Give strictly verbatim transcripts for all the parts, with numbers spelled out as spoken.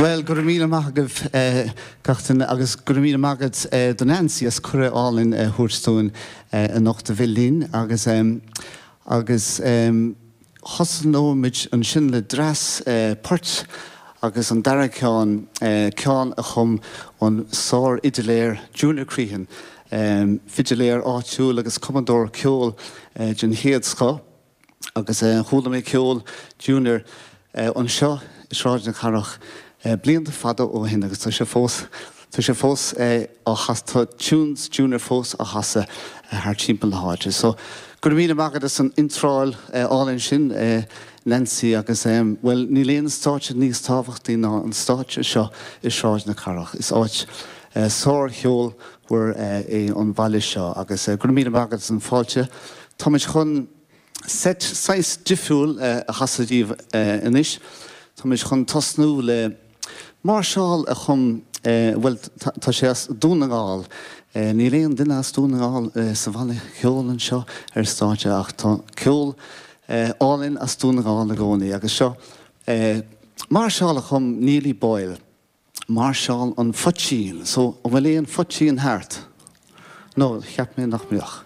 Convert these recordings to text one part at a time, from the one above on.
Well, go raibh míle maith agaibh gach duine agus go raibh míle maith agat do Nancy as cuireadh álainn a thabhairt dúinn anocht a bheith linn agus agus thosnóimid ansin le dreas poirt agus an dara ceann ceann a chum an sárfhidiléir Junior Crehan, fidiléir áitiúil agus cumadóir ceoil den chéad scoth agus chuala mé ceol Junior anseo i Sráid na Cathrach blianta fada ó shin agus tá sé fós tá sé fós á tá tunes Junior fós á chasadh thar timpeall na háite. So go raibh míle maith agat as an iontráil álainn sin Nancy agus well níl aon stáitse níos tábhachtaí ná an stáitse seo i Sráid na Cathrach. Is áit sárcheolmhar é an baile seo agus go raibh míle maith agat as an fáilte. Táimid chun set saghas difriúil a chasadh daoibh anois. Táimid chun tosnú le máirseáil a chum bhuel tá sé as Dún na nGall. Níl aon duine as Dún na nGall sa bhanna ceoil anseo ar stáitse ach tá ceol álainn as Dún na nGall i gcónaí agus seo máirseáil a chum Neely Boyle. Máirseáil an Phoitín, so an bhfuil aon phoitín thart? No, cheap mé nach mbeadh.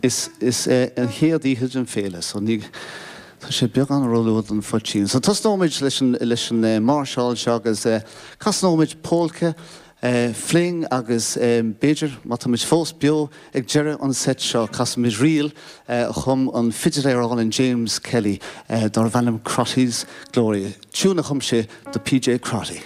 Is is an chéad oíche den féile, so ní tá sé beagán róluath don phoitín. So tosnóimid leis an leis an máirseáil seo agus casnóimid polca, fling agus b'fhéidir má táimid fós beo ag deireadh an set seo casfaimid ríl a chum an fidiléir álainn James Kelly darb ainm Crotty's Glory. Tiún a chum sé do PJ Crotty.